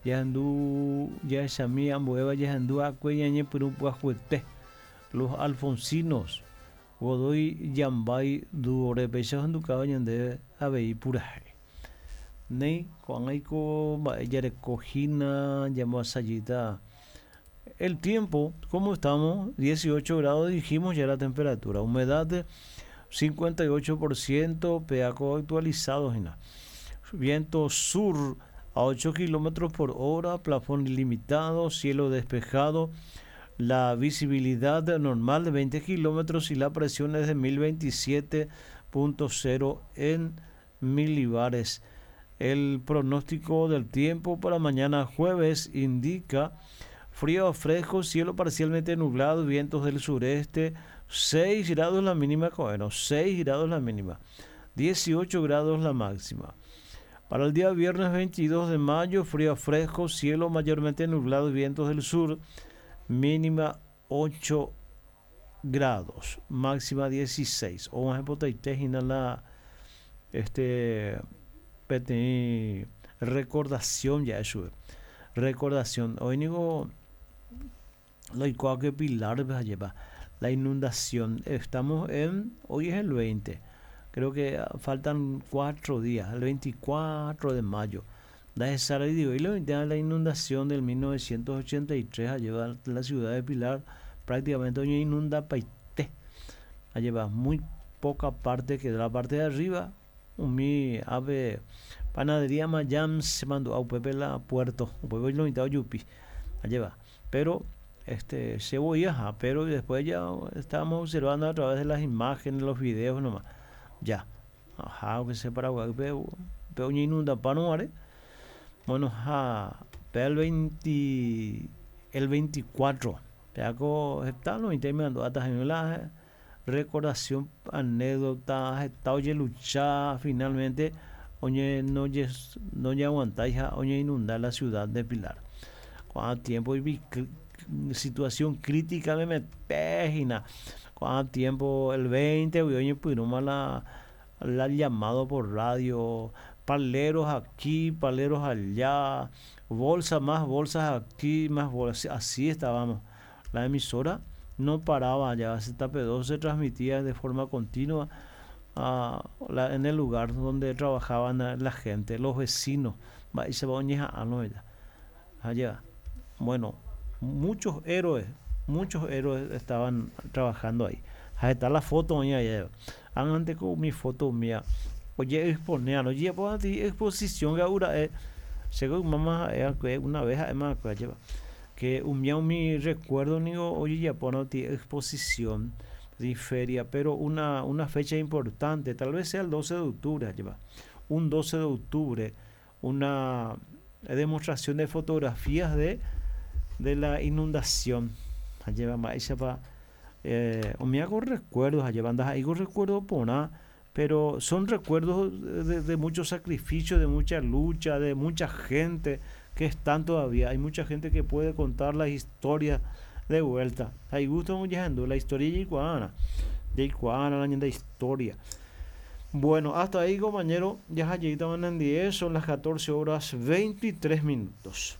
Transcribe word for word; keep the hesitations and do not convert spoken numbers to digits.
Jahendu jahechami ambuéva jahendu akue ñañepyrũ pyahuete Los Alfonsinos Godoy Yambay dúo-re péicha ohendukáva ñande avei purahéi. Néi ko'ág̃aiko mba'e jarekohína jamboasajýta el tiempo, ¿cómo estamos? dieciocho grados dijimos ya la temperatura, humedad cincuenta y ocho por ciento, peaco actualizado hína. Viento sur a ocho kilómetros por hora, plafón ilimitado, cielo despejado, la visibilidad normal de veinte kilómetros y la presión es de mil veintisiete punto cero en milibares. El pronóstico del tiempo para mañana jueves indica frío a fresco, cielo parcialmente nublado, vientos del sureste, seis grados la mínima, bueno, seis grados la mínima, dieciocho grados la máxima. Para el día viernes veintidós de mayo, frío a fresco, cielo mayormente nublado, vientos del sur, mínima ocho grados, máxima dieciséis. O más importante, la este peteĩ recordación ya eso. Recordación. Hoy digo lo igual que Pilar lleva la inundación. Estamos en, hoy es el veinte. Creo que faltan cuatro días, el veinticuatro de mayo. La digo, y la inundación del mil novecientos ochenta y tres a llevar la ciudad de Pilar prácticamente hoy inunda paite. A llevar muy poca parte que de la parte de arriba. Mi ave panadería Mayam se mandó a Upepe la puerto, Upepe lo invitado Yupi, a llevar. Pero este se voy ajá, pero después ya estábamos observando a través de las imágenes, los videos nomás. Ya, ajá, aunque sea Paraguay, pero, pero inunda para no are. Bueno, ja, pero el veinte, el veinticuatro, pero está lo invitando hasta la recordación, anécdota, está oye lucha finalmente, oye no ye, no ye aguanta, hija, oye inundar la ciudad de Pilar. Cuando tiempo y vi cr-, situación crítica me metejina. Cuando tiempo el veinte, oye, pues no mala la llamado por radio, paleros aquí, paleros allá, bolsa más bolsas aquí, más bolsas, así estábamos. La emisora no paraba, ya Z P dos se transmitía de forma continua a la, en el lugar donde trabajaban la, la gente, los vecinos. Va, y se va a oñeja, ah, no, ya. Allá. Bueno, muchos héroes, muchos héroes estaban trabajando ahí. Ahí está la foto mía, ya. Antes con mi foto mía. Oye, exponer, oye, pues, a ti, exposición, Gaura, eh, según mamá, eh, que una vez, además, que lleva, que un día mi recuerdo, digo, oye, ya pone ti exposición de feria, pero una, una fecha importante, tal vez sea el doce de octubre, lleva, un doce de octubre, una demostración de fotografías de, de la inundación. Lleva más, esa pa, eh, o me hago recuerdos, lleva, andas ahí con recuerdos por nada, pero son recuerdos de, de, de mucho sacrificio, de mucha lucha, de mucha gente que están todavía. Hay mucha gente que puede contar las historias de vuelta. Hay gusto mucho la historia de Iguana, de Iguana, la de historia. Bueno, hasta ahí, compañero, ya llegaron en diez, son las catorce horas veintitrés minutos.